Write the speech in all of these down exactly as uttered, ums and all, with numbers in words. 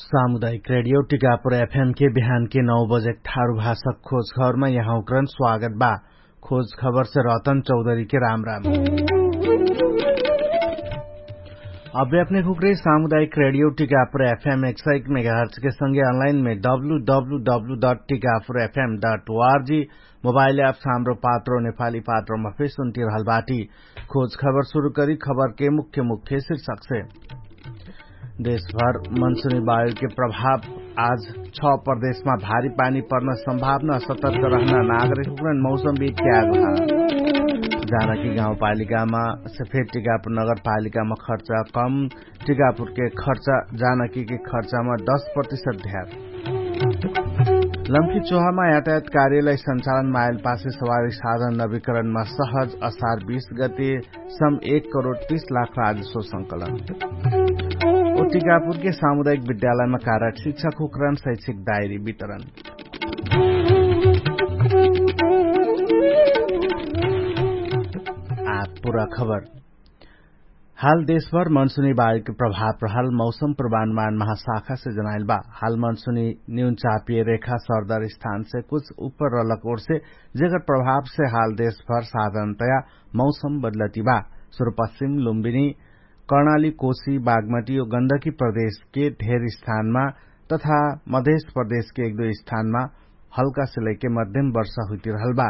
सामुदायिक रेडियो टिकापुर एफएम के बिहान के नौ बजे ठारु भाषा खोज खबरमा यहाँ उक्रन स्वागत बा। खोज खबर से रतन चौधरी के राम राम। अबे अपने खुकरे सामुदायिक रेडियो टिकापुर एफएम एक सौ एक मेगाहर्च के संगे अनलाइन में W W W dot Tikapur FM dot ORG mobile app Hamro Patro Nepali पात्रोमा फेर सुन्टिरहल बाटी। खोज खबर सुरु करी खबर के मुख्य मुख्य शीर्षक से। देशभर मनसुनी वायुके प्रभाव। आज छ प्रदेशमा भारी पानी पर्न सम्भावना सतर्क रहना नागरिकहुकन मौसम विज्ञान। जानकी गाउँपालिकामा सफेद टिकापुर नगरपालिकामा खर्च कम। टिकापुरके खर्च जानकीके खर्चमा दश प्रतिशत ध्यान। लम्की चोहामा यातायात कार्यलाई सञ्चालन मायलपासे सवारी साधन नवीकरणमा सहज असार बीस गते सम एक करोड तीस लाख राजस्व संकलन। ओ टिकापुरके सामुदायिक विद्यालयमा कारक शिक्षक हुकरण शैक्षिक डायरी वितरण। आ पुरा खबर। हाल देशभर मनसुनी बायुके प्रभाव रहल मौसम प्रमाणमान महाशाखासे जनाइल बा। हाल मनसुनी न्यून चापिय रेखा सरदर स्थानसे कुछ उपर रलक ओरसे जेकर प्रभावसे हाल देशभर साधारणतया मौसम बदलती बा। सुरुपश्चिम लुम्बिनी कर्णाली कोशी बागमटी ओ गन्दकी प्रदेशके ढेर स्थानमा तथा मधेश प्रदेशके एक दुई स्थानमा हल्कासे लैके मध्यम वर्षा हुइतिरहल बा।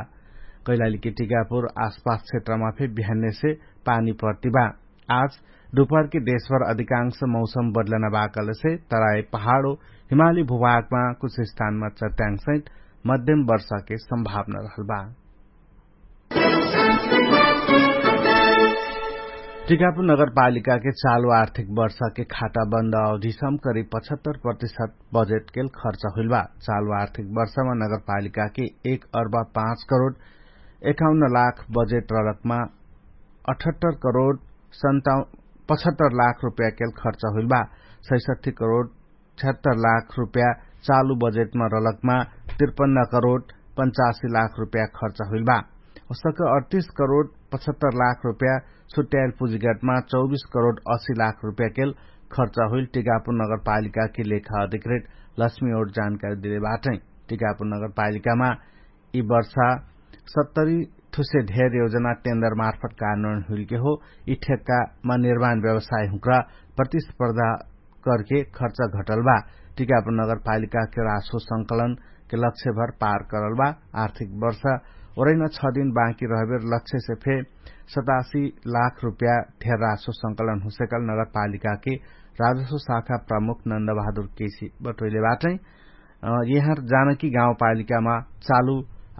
कैलालीके टिकापुर आसपास क्षेत्रमा फे बिहान्यसे पानी पर्ति बा। आज दुपहरके देशभर अधिकांश मौसम बदलना बाकलसे तराई पहाडो हिमाली भूभागमा कुछ स्थानमा चट्याङ्सहित मध्यम वर्षाके सम्भावना रहल बा। टिकापुर नगरपालिकाके चालु आर्थिक वर्षाके खाटाबन्द अवधिसम करिब पचहत्तर प्रतिशत बजेटकेल खर्च हुइल बा। चालु आर्थिक वर्षमा नगरपालिकाके एक अर्बा पाँच करोड एकाउन्न लाख बजेट रलकमा अठहत्तर करोड सन्ताउ पचहत्तर लाख रुपयाकेल खर्च हुइल बा। सैसठी करोड छहत्तर लाख रुपया चालु बजेटमा रलकमा त्रिपन्न करोड पन्चासी लाख रुपया खर्च हुइल बा। ओसक अडतीस करोड पचहत्तर लाख रुपया छुट्याइल पुजिगटमा चौबिस करोड असी लाख रुपयाकेल खर्च हुइल टिकापुर नगरपालिकाके लेखा अधिकृत लक्ष्मी ओट जानकारी दिले बाटै। टिकापुर नगरपालिकामा यि वर्षा सत्तरी थुसे धेर योजना टेन्डर मार्फत कारणन हुइलके हो। यि ठेक्कामा निर्माण व्यवसाय हुँक्रा प्रतिस्पर्धा करके खर्च घटल बा। टिकापुर नगरपालिकाके रासो संकलनके लक्ष्यभर पार करल बा। आर्थिक वर्षा ओरैना छ दिन बाँकी रहबेर लक्ष्यसे फे सतासी लाख रुपया धेर रासो संकलन हुसेकल नगरपालिकाके राजस्व शाखा प्रमुख नन्दबहादुर केसी बटोइले बाटै। यहाँर जानकी गाउँपालिकामा चालु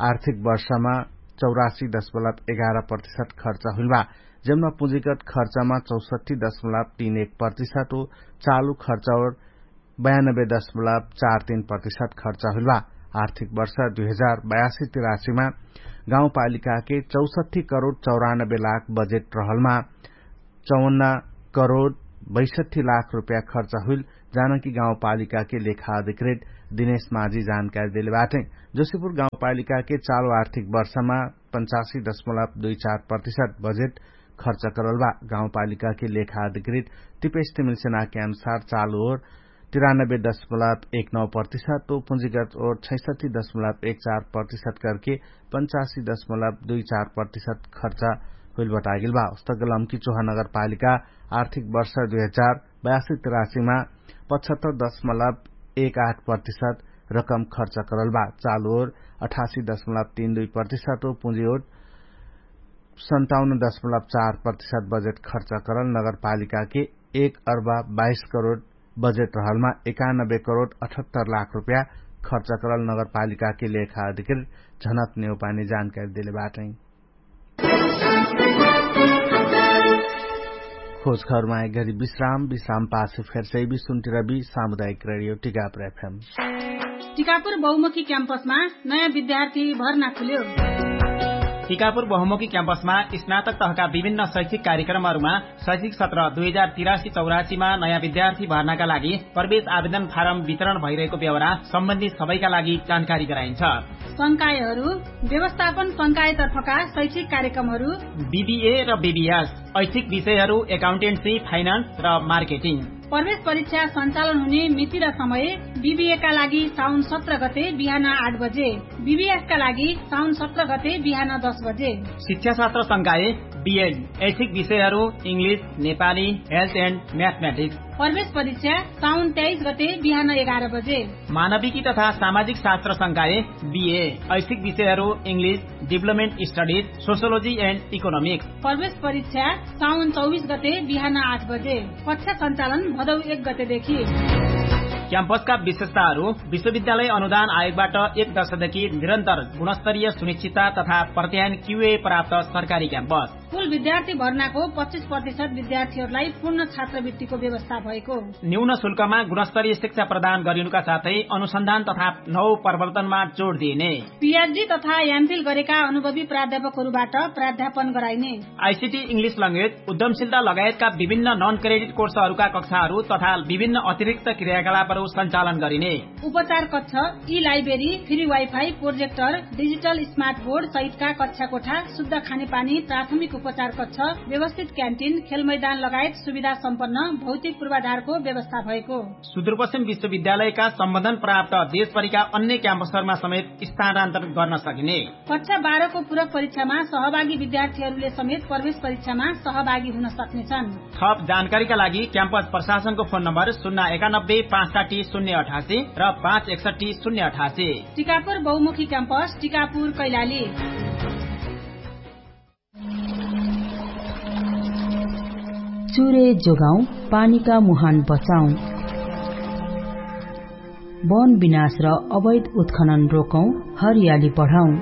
आर्थिक वर्षमा चौरासी दशमलब एघार प्रतिशत खर्च हुइल बा। जेमना पुँजीगत खर्चमा चौसठी दशमलब तीन एक प्रतिशत हो। चालु खर्च ओर बयानब्बे दशमलब चार तीन प्रतिशत खर्च हुइल बा। आर्थिक वर्ष दुई हजार बयासी तिरासीमा गाउँपालिकाके चौसठी करोड चौरानब्बे लाख बजेट रहलमा चौवन्न करोड बैसठी लाख रुपया खर्च हुइल जानकी गाउँपालिकाके लेखा अधिकृत दिनेश माझी जानकारी देले बाटै। जोशीपुर गाउँपालिकाके चालु आर्थिक वर्षमा पन्चासी दशमलब दुई चार प्रतिशत बजेट खर्च करल बा। गाउँपालिकाके लेखा अधिकृत तिपेश तिमिल सेनाके अनुसार चालु ओर तिरानब्बे दशमलब एक नौ प्रतिशत ओ पुँजीगत ओर छैसठी दशमलब एक चार प्रतिशत करके पन्चासी दशमलब दुई चार प्रतिशत खर्च हुइल बटागेल बा। उस्तक लम्की चोहा नगरपालिका आर्थिक वर्ष दुई हजार बयासी तिरासीमा पचहत्तर दशमलब एक आठ प्रतिशत रकम खर्च करल बा। चालु ओर अठासी दशमलब तीन दुई प्रतिशत ओ पुँजी ओर सन्ताउन्न दशमलब चार प्रतिशत बजेट खर्च करल नगरपालिकाके एक अर्बा बाइस करोड बजेट रहलमा एकानब्बे करोड अठहत्तर लाख रुपया खर्च करल नगरपालिकाके लेखा अधिकृत झनक नेउपानी जानकारी देले बाटै। खोज खबरमा एक घरी विश्राम विश्राम पासे फेरसै भी सुन्टिरबी सामुदायिक रेडियो टिकापुर एफएम। टिकापुर बहुमुखी क्याम्पसमा नयाँ विद्यार्थी भर्ना खुल्यो। टिकापुर बहुमुखी क्याम्पसमा स्नातक तहका विभिन्न शैक्षिक कार्यक्रमहरूमा शैक्षिक सत्र दुई हजार तिरासी चौरासीमा नयाँ विद्यार्थी भर्नाका लागि प्रवेश आवेदन फारम वितरण भइरहेको बेहोरा सम्बन्धी सबैका लागि जानकारी गराइन्छ। संकायहरू व्यवस्थापन संकायतर्फका शैक्षिक कार्यक्रमहरू बिबिए र बिबिएस ऐच्छिक विषयहरू एकाउन्टेन्सी फाइनान्स र मार्केटिङ। प्रवेश परीक्षा सञ्चालन हुने मिति र समय बिबिएका लागि साउन सत्र गते बिहान आठ बजे, बिबिएसका लागि साउन सत्र गते बिहान दस बजे। शिक्षाशास्त्र संकाय बिएड, ऐच्छिक विषयहरू, इङ्ग्लिस, नेपाली, हेल्थ एन्ड म्याथम्याटिक्स। प्रवेश परीक्षा साउन तेइस गते बिहान एघार बजे। मानविकी तथा सामाजिक शास्त्र संकाय बिए, ऐच्छिक विषयहरू, इङ्ग्लिस, डिभलपमेन्ट स्टडिज, सोसियोलोजी एन्ड इकोनोमिक्स। प्रवेश परीक्षा साउन चौबिस गते बिहान आठ बजे। कक्षा सञ्चालन भदौ एक गतेदेखि। क्याम्पसका विशेषताहरू, विश्वविद्यालय अनुदान आयोगबाट एक दशकदेखि निरन्तर गुणस्तरीय सुनिश्चितता तथा प्रत्यायन क्युए प्राप्त सरकारी क्याम्पस। कुल विद्यार्थी भर्नाको पच्चिस प्रतिशत विद्यार्थीहरूलाई पूर्ण छात्रवृत्तिको व्यवस्था भएको। न्यून शुल्कमा गुणस्तरीय शिक्षा प्रदान गरिनुका साथै अनुसन्धान तथा नव प्रवर्तनमा जोड दिइने। पिएचडी तथा एमफिल गरेका अनुभवी प्राध्यापकहरूबाट प्राध्यापन गराइने। आइसिटी, इङ्ग्लिस ल्याङ्ग्वेज, उद्यमशीलता लगायतका विभिन्न नन क्रेडिट कोर्सहरूका कक्षाहरू तथा विभिन्न अतिरिक्त क्रियाकलापहरू सञ्चालन गरिने। उपचार कक्ष, ई library, free wifi, projector, digital smart board सहितका कक्षा कोठा, शुद्ध खानेपानी, प्राथमिक उपचार कक्ष, व्यवस्थित क्यान्टिन, खेलमैदान लगायत सुविधा सम्पन्न भौतिक पूर्वाधारको व्यवस्था भएको। सुदूरपश्चिम विश्वविद्यालयका सम्बन्धन प्राप्त देशभरिका अन्य क्याम्पसहरूमा समेत स्थानान्तरण गर्न सकिने। कक्षा बाह्रको पूरक परीक्षामा सहभागी विद्यार्थीहरूले समेत प्रवेश परीक्षामा सहभागी हुन सक्नेछन्। थप जानकारीका लागि क्याम्पस प्रशासनको फोन नम्बर शून्य एकानब्बे पाँच साठी शून्य अठासी र पाँच एकसट्ठी शून्य अठासी। टिकापुर बहुमुखी क्याम्पस, टिकापुर, कैलाली। चुरे जोगाउँ, पानीका मुहान बचाउँ। वन विनाश र अवैध उत्खनन रोकौँ, हरियाली बढाउँ।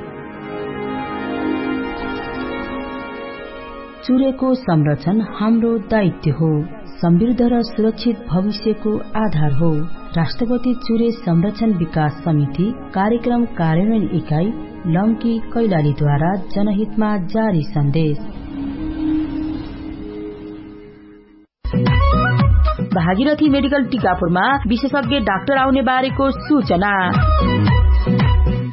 चुरेको संरक्षण हाम्रो दायित्व हो। समृद्ध र सुरक्षित भविष्यको आधार हो। राष्ट्रपति चुरे संरक्षण विकास समिति कार्यक्रम कार्यान्वयन इकाइ लम्की कैलालीद्वारा जनहितमा जारी सन्देश। भागीरथी मेडिकल टिकापुरमा विशेषज्ञ डाक्टर आउने बारेको सूचना।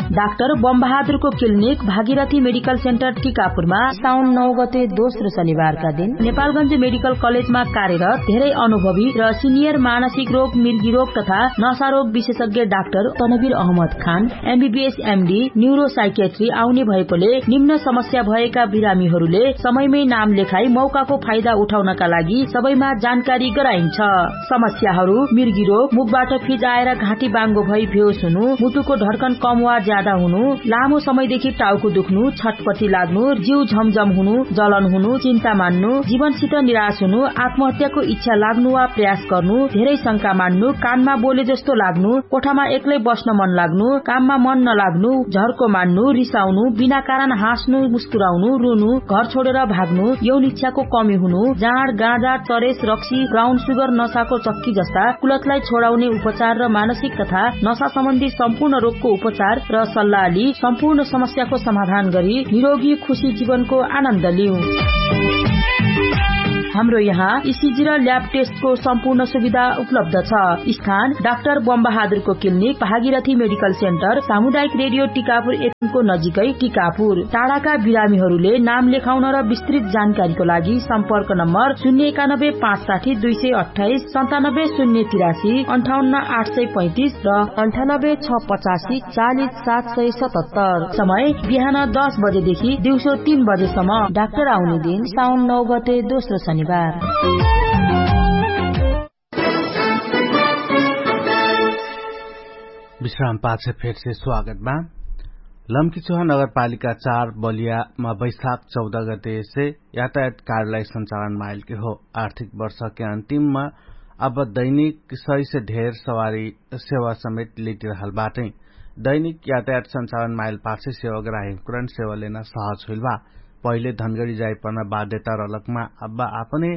डाक्टर बमबहादुरको क्लिनिक भागीरथी मेडिकल सेन्टर टिकापुरमा साउन नौ गते दोस्रो शनिबारका दिन नेपालगञ्ज मेडिकल कलेजमा कार्यरत धेरै अनुभवी र सिनियर मानसिक रोग, मिर्गी रोग तथा नशा रोग विशेषज्ञ डाक्टर तनवीर अहमद खान एमबीबीएस एमडी न्युरोसाइकेट्री आउने भएकोले निम्न समस्या भएका बिरामीहरूले समयमै नाम लेखाई मौकाको फाइदा उठाउनका लागि सबैमा जानकारी गराइन्छ। समस्याहरू मिर्गी रोग, मुखबाट फिजाएर घाँटी बाङ्गो भई बेहोस हुनु, मुटुको ढड्कन कम वा ज्यादा हुनु, लामो समयदेखि टाउको दुख्नु, छटपटी लाग्नु, जिउ झमझम हुनु, जलन हुनु, चिन्ता मान्नु, जीवनसित निराश हुनु, आत्महत्याको इच्छा लाग्नु वा प्रयास गर्नु, धेरै शंका मान्नु, कानमा बोले जस्तो लाग्नु, कोठामा एक्लै बस्न मन लाग्नु, काममा मन नलाग्नु, झर्को मान्नु, रिसाउनु, बिना कारण हाँस्नु, मुस्कुराउनु, रुनु, घर छोडेर भाग्नु, यौन इच्छाको कमी हुनु, जाँड, गाँजा, चरेस, रक्सी, ब्राउन सुगर, नशाको चक्की जस्ता कुलतलाई छोडाउने उपचार र मानसिक तथा नशा सम्बन्धी सम्पूर्ण रोगको उपचार र सल्लाह लि सम्पूर्ण समस्याको समाधान गरी निरोगी खुशी जीवनको आनन्द लिउ। हाम्रो यहाँ इसिजी र ल्याब टेस्टको सम्पूर्ण सुविधा उपलब्ध छ। स्थान डाक्टर बमबहादुरको क्लिनिक, भागीरथी मेडिकल सेन्टर, सामुदायिक रेडियो टिकापुर एफएमको नजिकै टिकापुर। टाढाका बिरामीहरूले नाम लेखाउन र विस्तृत जानकारीको लागि सम्पर्क नम्बर शून्य एकानब्बे पाँच साठी दुई सय अट्ठाइस, सन्तानब्बे शून्य तिरासी, अन्ठाउन्न आठ सय पैँतिस र अन्ठानब्बे छ पचासी चालिस सात सय सतहत्तर। समय बिहान दस बजेदेखि दिउँसो तीन बजेसम्म। डाक्टर आउने दिन साउन नौ गते दोस्रो शनिबार। विश्राम पाछे फेरसे स्वागत बा। लम्कीचोहा नगरपालिका चार बलियामा वैशाख चौध गतेसे यातायात कार्यलाई सञ्चालन माइलके हो। आर्थिक वर्षके अन्तिममा अब दैनिक सय से ढेर सवारी सेवा समेत लिटिरहल बाटै। दैनिक यातायात सञ्चालन माइल पाछे सेवा ग्राहिमकुरन सेवा लेना सहज हुइल बा। पहिले धनगडी जाइपर्ना बाध्यता रलकमा अब आपने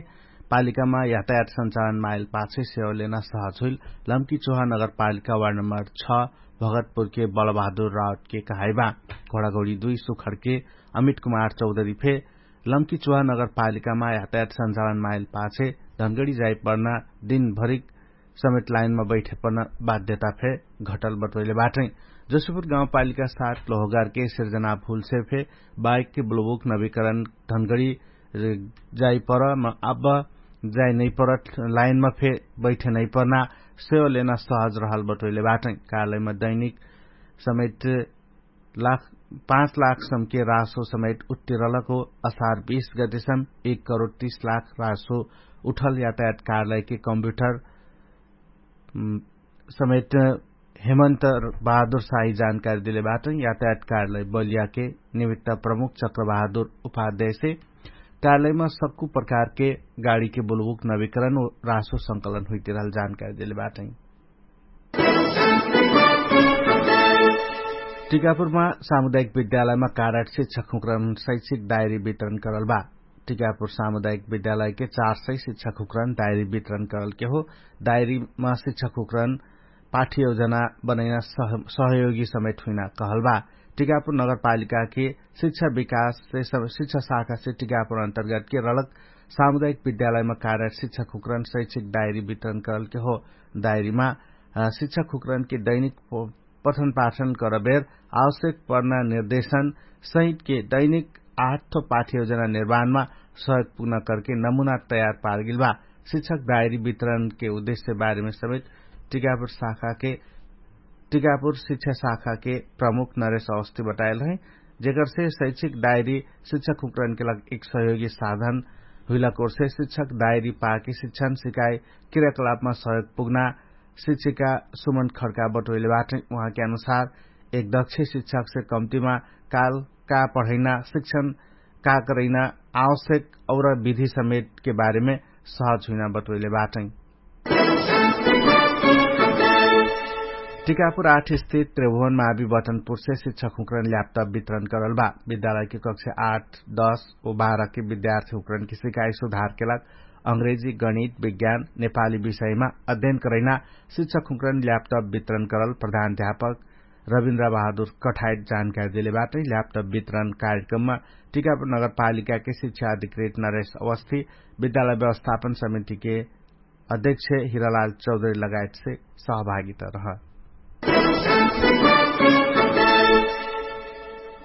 पालिकामा यातायात सञ्चालन माइल पाछे सेवा लेना सहज हुइल लम्कीचोहा नगरपालिका वार्ड नम्बर छ भगतपुरके बलबहादुर राउतके कहाइबा। घोडाघोडी दुई सुखडके अमित कुमार चौधरी फे लम्कीचोहा नगरपालिकामा यातायात सञ्चालन माइल पाछे धनगडी जाइपर्ना दिनभरिक समेत लाइनमा बैठे पर्न बाध्यता फे घटल बटोइले बाटै। जोशीपुर गाउँपालिका सात लोहगारके सिर्जना भुलसे फे बाइकके ब्लोबुक नवीकरण धनगडी जाइपर म अब जाय नैपरत लाइनमा फे बैठे नैपर्ना सेवा लेना सहज रहल बटोइले बाटै। कार्यालयमा दैनिक समेत लाख पाँच लाख सम्के रासो समेत उत्तिरलको असार बीस गतिसम एक करोड तीस लाख रासो उठल यातायात कार्यालयके कम्प्युटर समेत हेमन्त बहादुर साही जानकारी देले बाटै। यातायात कार्यालय बलियाके निमित्त प्रमुख चक्रबहादुर उपाध्यायसे कार्यालयमा सक्कु प्रकारके गाडीके बुलबुक नविकरण रासो संकलन हुइतिरहल जानकारी देले बाटै। टिकापुरमा सामुदायिक विद्यालयमा कारट शिक्षक हुक्रन शैक्षिक डायरी वितरण करल बा। टिकापुर सामुदायिक विद्यालयके चार सय शिक्षक हुक्रन डायरी वितरण करलके हो। डायरीमा शिक्षक हुक्रन पाठ्य योजना बनैना सहयोगी समेत हुइना कहल बा। टिकापुर नगरपालिकाके शिक्षा विकाससे शिक्षा शाखासे टिकापुर अन्तर्गतके रलक सामुदायिक विद्यालयमा कारट शिक्षक हुक्रन शैक्षिक डायरी वितरण करलके हो। डायरीमा शिक्षक हुक्रनके दैनिक पठनपाठन करबेर आवश्यक पर्ना निर्देशन सहितके दैनिक आठ पाठ्य योजना निर्माणमा सहयोग पुग्न करके नमुना तयार पारगेल बा। शिक्षक डायरी वितरणके उद्देश्य बारेमे समेत टिकापुर शाखाके टिकापुर शिक्षा शाखाके प्रमुख नरेश अवस्थी बताएल है। जेकरसे शैक्षिक डायरी शिक्षक हुक्रनके लाग एक सहयोगी साधन हुइला कोरसे शिक्षक डायरी पाके शिक्षण सिकाइ क्रियाकलापमा सहयोग पुग्ना शिक्षिका सुमन खड्का बटोइले बाटै। उहाँके अनुसार एक दक्ष शिक्षकसे कम्तिमा काल का पढैना शिक्षण का करैना आवश्यक और विधि समेटके बारेमे सहज हुइना बटोइले बाटै। टिकापुर आठ स्थित त्रिभुवन मावी बटनपुरसे शिक्षक हुक्रन ल्यापटप वितरण करल बा। विद्यालयके कक्षा आठ दश व बाह्रके विद्यार्थी हुक्रनके सिकाइ सुधारके लाग अंग्रेजी गणित विज्ञान नेपाली विषयमा अध्ययन करैना शिक्षक हुक्रन ल्यापटप वितरण करल प्रधान अध्यापक रविन्द्र बहादुर कठायत जानकारी देले बाटै। ल्यापटप वितरण कार्यक्रममा टिकापुर नगरपालिकाके शिक्षा अधिकृत नरेश अवस्थी विद्यालय व्यवस्थापन समितिके अध्यक्ष हिरालाल चौधरी लगायतसे सहभागिता रह।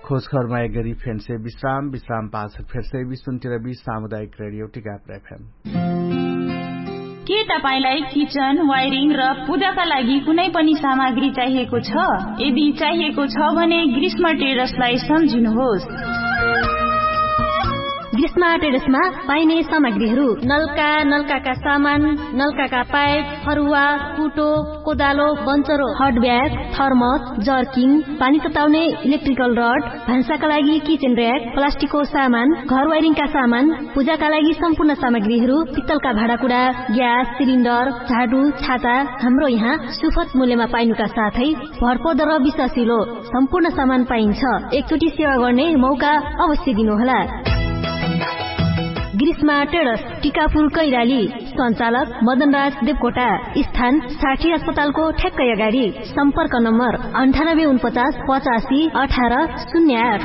खोजखबरमा एक गरी फेन्से विश्राम विश्राम पाछ फेर्से विश्वन्तिर विश्व सामुदायिक रेडियो टिकापुर एफएम। के तपाईंलाई किचन वायरिङ र पूजाका लागि कुनै पनि सामग्री चाहिएको छ? यदि चाहिएको छ भने ग्रीष्म ट्रेडर्सलाई सम्झिनुहोस्। ग्रीष्म ट्रेडर्समा पाइने सामग्रीहरू नल्का नल्काका सामान, नल्काका पाइप, फरुवा, कुटो, कोदालो, बन्चरो, हटब्याग, थर्मस, जर्किङ, पानी तताउने इलेक्ट्रिकल रड, भान्साका लागि किचेन र्याक, प्लास्टिकको सामान, घर वायरिङका सामान, पूजाका लागि सम्पूर्ण सामग्रीहरू, पित्तलका भाँडाकुडा, ग्यास सिलिन्डर, झाडु, छाता, हाम्रो यहाँ सुफत मूल्यमा पाइनुका साथै भरपर्दो र विश्वासिलो सम्पूर्ण सामान पाइन्छ। एकचोटि सेवा गर्ने मौका अवश्य दिनुहोला। ग्रीष्मा टेडस, टिकापुर कैराली। सञ्चालक मदनराज देवकोटा। स्थान साठी अस्पतालको ठ्याक्कै अगाडि। सम्पर्क नम्बर अन्ठानब्बे उनपचास पचासी अठार शून्य आठ।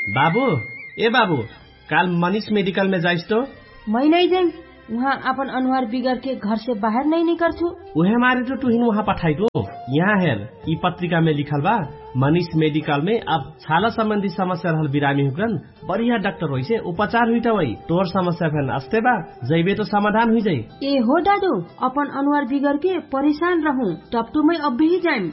बाबु, ए बाबु, काल मनिष मेडिकलमे जाइस तो? मै नै जाइम। उहाँ आपन अनुहार बिगरके घरसे बाहेर नै निकर्छु। उहे मारे तो तुहिन उहाँ पठाइटो। यहाँ हेर, यि पत्रिकामे लिखल बा, मनिष मेडिकलमे अब छाला सम्बन्धी समस्या रहल बिरामी हुकन बढिया डाक्टर होइसे उपचार हुइटा वै। तोर समस्या फेन अस्ते बा, जैबे तो समाधान हुइजै। ए हो दादु, अपन अनुहार बिगरके परेशान रहु, टपटुमै अब्बेही जाइम।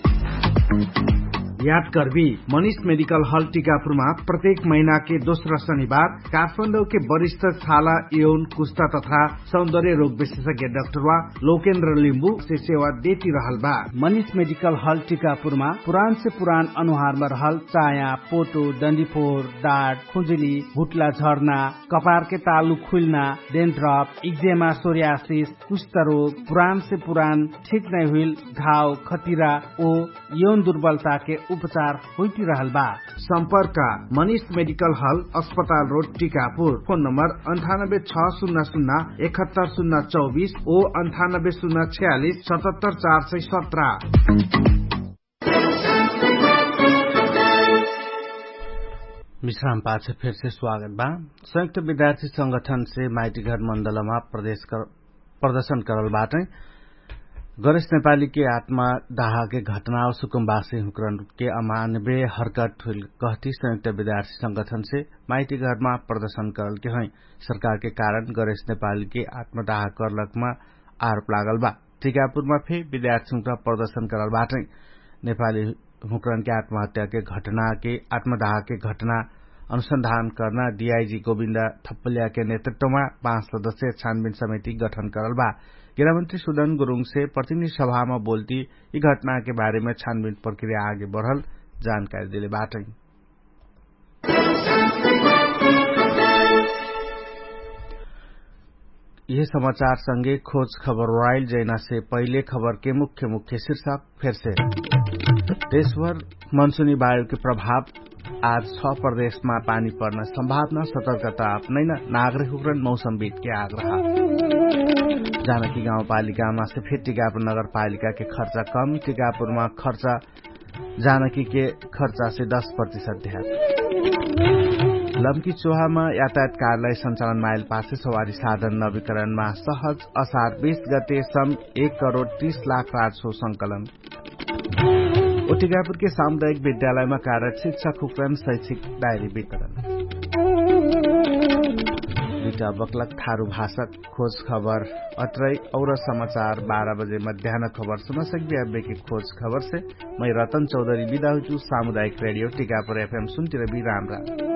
याद कर्बी, मनिष मेडिकल हल टिकापुरमा प्रत्येक महिनाके दोस्रा शनिबार काठमाडौके वरिष्ठ छाला, यौन, कुस्ता तथा सौन्दर्य रोग विशेषज्ञ डाक्टरवा लोकेन्द्र लिम्बुसे सेवा देति रहल बा। मनिष मेडिकल हल टिकापुरमा पुरानसे पुरान अनुहारमा रहल चाया, पोटो, डन्डीफोर, डाट, खुजुली, हुट्ला झर्ना, कपारके तालु खुइल्ना, डेन्ड्रप, इक्जेमा, सोर्यासिस, कुष्ठरोग, पुरानसे पुरान ठिक नै हुइल घाव, खतिरा ओ यौन दुर्बलताके उपचार होइटिरहल बा। सम्पर्क मनिष मेडिकल हल, अस्पताल रोड, टिकापुर। फोन नम्बर अन्ठानब्बे छ शून्य शून्य एकहत्तर शून्य चौबिस ओ अन्ठानब्बे शून्य छयालिस सतहत्तर चार सय सत्र। विश्राम पाछ फेरसे स्वागत बा। संयुक्त विद्यार्थी संगठनसे माइतीघर मण्डलमा प्रदेश प्रदर्शन करल बाटै। गणेश नेपालीके आत्मा दाहाके घटना सुकुम्बासी हुँकरनके अमानबे हर्कट हुइल कहती संयुक्त विद्यार्थी संगठनसे माइतीघरमा प्रदर्शन करलकेहै। सरकारके कारण गणेश नेपालीके आत्मा दाहा करलकमा आरोप लागलबा। टिकापुरमा फे विद्यार्थी हुँकरा प्रदर्शन करलबाटै। नेपाली हुँकरनके आत्महत्याके घटनाके आत्मा दाहाके घटना अनुसन्धान कर्ना डिआइजी गोविन्दा थप्पल्याके नेतृत्वमा पाँच सदस्य छानबिन समिति गठन करलबा। गेरामन्त्री सुदन गुरुङसे प्रतिनिधि सभामा बोल्ती यि घटनाके बारेमा छानबिन प्रक्रिया आगे बढल जानकारी देले बाटै। यिहे समाचारसँगे खोज खबर राइल जैनासे पहिले खबरके मुख्य मुख्य शीर्षक फेरसे। देशभर मनसुनी वायुके प्रभाव आज छ प्रदेशमा पानी पर्न सम्भावना सतर्कता अपनैन नागरिक हुक्रन मौसमविदके आग्रह। जानकी गाउँपालिकामा से फेर टिकापुर नगरपालिकाके खर्चा कम टिकापुरमा खर्चा जानकीके खर्चासे दश प्रतिशत ध्यान। लम्की चोहामा यातायात कार्यालय सञ्चालन माइल पासे सवारी साधन नवीकरणमा सहज असार बीस गते सम एक करोड तीस लाख राजसो संकलन। उटिकापुरके सामुदायिक विद्यालयमा कार्यरत शिक्षक हुक्रन शैक्षिक डायरी वितरण। दुइटा बक्लक थारु भाषक खोज खबर अत्रै। और समाचार बाह्र बजे मध्यान खबर सुनसक्बे अब्बेके खोज खबरसे मै रतन चौधरी बिदा हुइचु। सामुदायिक रेडियो टिकापुर एफएम सुन्तिरबी राम राम।